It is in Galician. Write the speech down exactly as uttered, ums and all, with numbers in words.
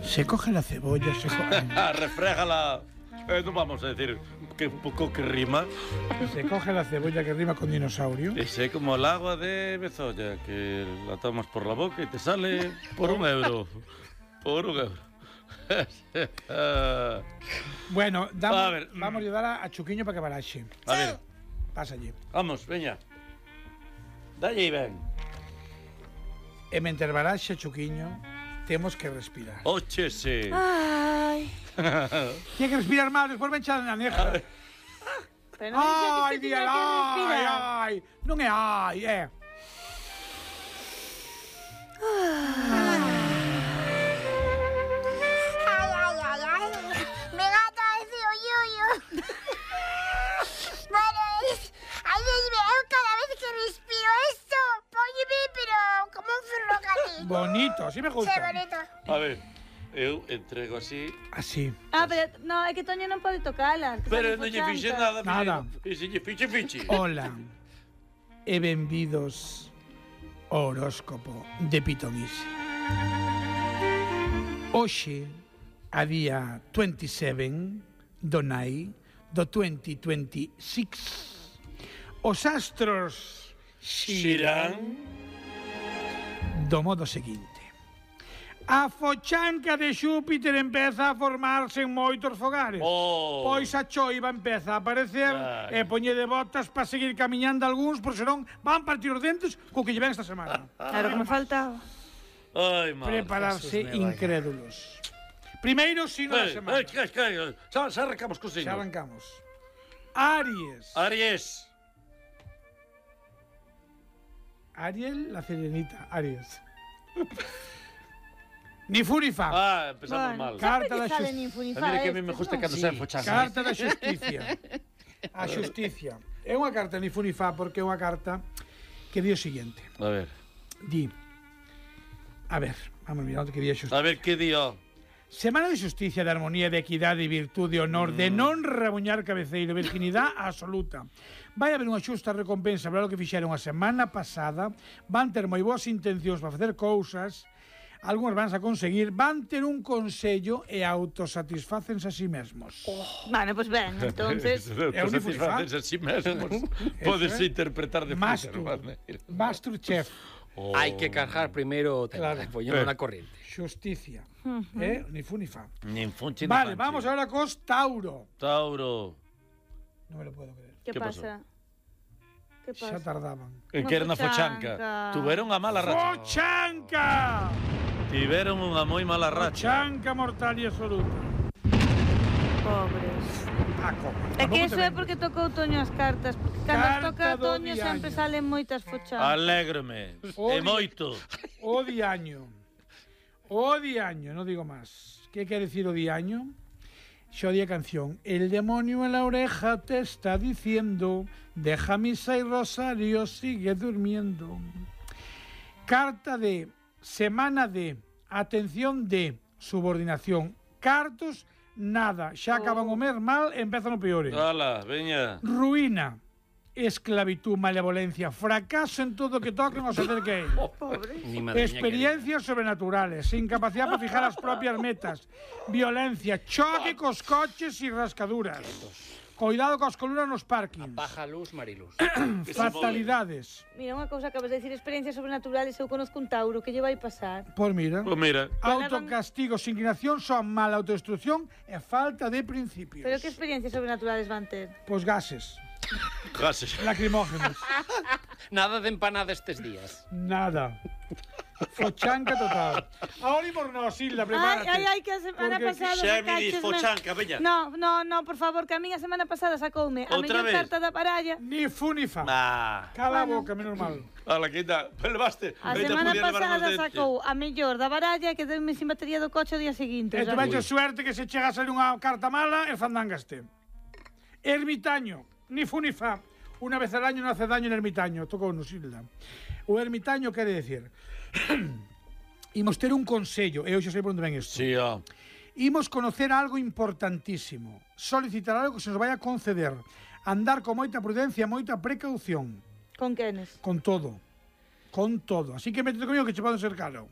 Se coge la cebolla, se coge... Refrégala. Eh, no vamos a decir que un poco que rima. Se coge la cebolla que rima con dinosaurio. Es como el agua de Bezoya, que la tomas por la boca y te sale por un euro. Por un euro. Bueno, damos, a ver. vamos a ayudar a, a Chuquiño para que baraxe. A ver. Pasa allí. Vamos, veña. Dalle y ven. E mentre baraxe Chuquiño, temos que respirar. Óchese. Ai. Tiene que respirar mal, despois ven xa na negra. Pero non dixo Ai, que se Diel, tiña que ai, respirar. ai. Non é ai, é. Ay, ay, ay, ay. Me gata ese oyuyo. Bueno, es... Ay, Dios mío, cada vez que respiro esto, póñeme, pero como un ferrocarril. Bonito, así me Sí, gusta. bonito. A ver, eu entrego así. Así. Ah, pero no, é que Toño non pode tocala. que Pero fai non lle fochanca. fixe nada. Nada. E se lle fixe, fixe. Hola e benvidos ao horóscopo de Pitonisi. Hoxe, a día veintisiete do Nai do veinte veintiséis, os astros Xirán. do modo seguinte. A fochanca de Xúpiter empeza a formarse en moitos fogares. Oh. Pois a choiva empeza a aparecer Ai. e poñe de botas para seguir camiñando algúns, por senón van partir os dentes co que lle ven esta semana. Claro que me faltaba. Ai, madre. Prepararse Jesús me vaya. incrédulos. Primeiro signo da Eh, semana. eh, que, que, xa, xa arrancamos co Xa signo. arrancamos. Aries. Aries. Ariel, la serenita. Aries. Ni fu ni fa. Ah, empezamos Bueno, mal. Carta sempre da que sale xus- nin fu nin A fa mí que a mí estes, me gusta non? cando se fochan. Carta da xusticia. A xusticia. É unha carta ni fu ni fa porque é unha carta que di o seguinte. A ver. Di. A ver, vamos a mirar onde que di a xusticia. A ver que dio. Semana de xusticia, de armonía, de equidade, de virtude, de honor, mm. de non rabuñar cabeceiro, virginidade absoluta. Vai haber unha xusta recompensa para o que fixeron a semana pasada, van ter moi boas intencións para facer cousas, algunhas van a conseguir, van ter un consello e autosatisfácense a sí mesmos. Oh. Bueno, pois pues ben, entonces... É un satisfaces a sí mesmos. Podes Eso é. interpretar de Mastur. puta maneira. Masterchef. Oh. Hai que cargar primeiro o tema, Claro. poñendo Eh. na corriente. Xusticia. Eh? Ni fu ni fa. Nin funche, Vale, nin vamos fanche. ahora cos Tauro. Tauro. Non me lo puedo creer. Que Que pasa? Que Xa pasa? tardaban. En que era na fochanca. fochanca. Tuveron a mala racha. Fochanca! Tiveron unha moi mala racha. Fochanca mortal e absoluta. Pobres. Paco. É que iso é porque tocou Toño as cartas, porque cando Carta toca do Toño diaño. sempre salen moitas fochancas. Alégrome. Odio. E moito. O diaño. O diaño, no digo más. ¿Qué quiere decir o diaño? Yo di canción. El demonio en la oreja te está diciendo, deja misa y rosario, sigue durmiendo. Carta de, semana de, atención de, subordinación. Cartos, nada. Xa acaban o mes mal, empezan o peores. Ala, veña. Ruína, esclavitud, malevolencia, fracaso en todo que toquen o se acerque a él. Ni madriña Experiencias sobrenaturales, incapacidad para fijar las propias metas, violencia, choque cos coches y rascaduras. Cuidado cos colunas nos parkings. Baja luz, Mariluz. Fatalidades. Mira, unha cousa acabas de decir, experiencias sobrenaturales, eu conozco un Tauro, que lle vai pasar? Pues mira, Pues mira. autocastigos, inclinación, son mala autodestrucción e falta de principios. Pero que experiencias sobrenaturales van ter? Pues gases, Gases. lacrimógenos, Nada de empanada estes días. nada. Fochanca total. Ahora imos nos, Hilda, Ai, prepárate. ai, ai, que a semana Porque- pasada Xa me dis sacaches fochanca, veña. No, no, no, por favor, que a min a semana pasada sacoume a Outra mellor vez? carta da baralla. Ni fu ni fa. Ah. Cala a Bueno. boca, menos mal. Ala, que ainda. Levaste. A Ainda semana podía levar nos pasada dentes. sacou a mellor da baralla que deume sin batería do coche o día seguinte. E o sea, tu vecho suerte que se chega a salir unha carta mala e fandangaste. Ermitaño, ni fu ni fa. Una vez al año no hace daño el ermitaño. Tocou nos, Hilda. O ermitaño quere decir... Imos ter un consello, e hoxe sei por onde ven isto. Sí, ó. Imos conocer algo importantísimo. Solicitar algo que se nos vai a conceder. Andar con moita prudencia, moita precaución. Con quenes? Con todo. Con todo. Así que métete comigo que che poden ser caro.